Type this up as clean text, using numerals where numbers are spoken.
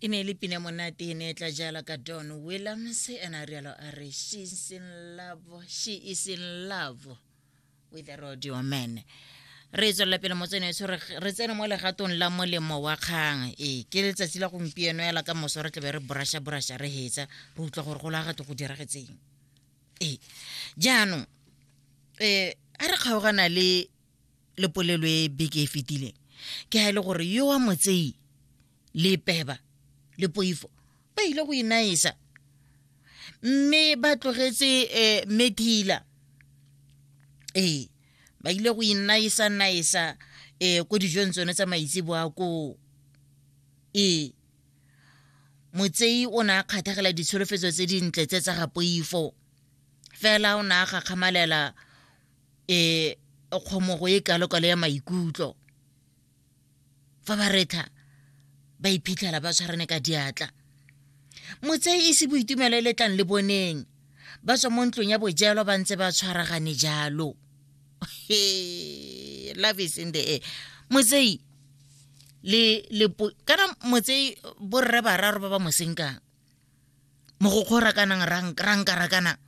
E ne e le pina monate, e ne e tla jala ka Don Williams. Ena a rialo a re, "She's in love, she is in love with the rodeo man." Re tswelela pele motsene, re tsene mo legatong la molemo wa kgang. Ee, ke letsatsi la gompieno ela ka moso re tlabe re brusha brusha, re hetsa, re utlwa gore go la gato go diragetseng. Ee, jaanong a re kgaogana le polelo e beke e fetileng, ke ha e le gore yo wa motsei le peba le poifo ba ile go inaisa, mme ba tlogetse methila. Ee, ba ile go inaisa naisa ko dijong tsone tsa maitseboa koo. Ee, motsei o ne a kgathegela ditsholofetso tse dintle tse tsa ga poifo, fela o ne a gakgamalela kgomogo e kalokalo ya maikutlo. Fa ba retha ba iphitlhela ba tshwarane ka diatla, motsei e se boitumelo e letlang le boneng ba tswa mo ntlong ya bojelo ba ntse ba tshwaragane jalo. Love is in the air. Motsei le kana motsei, borre bararo ba ba mo senkang, mogokgo rakanang rankarakana.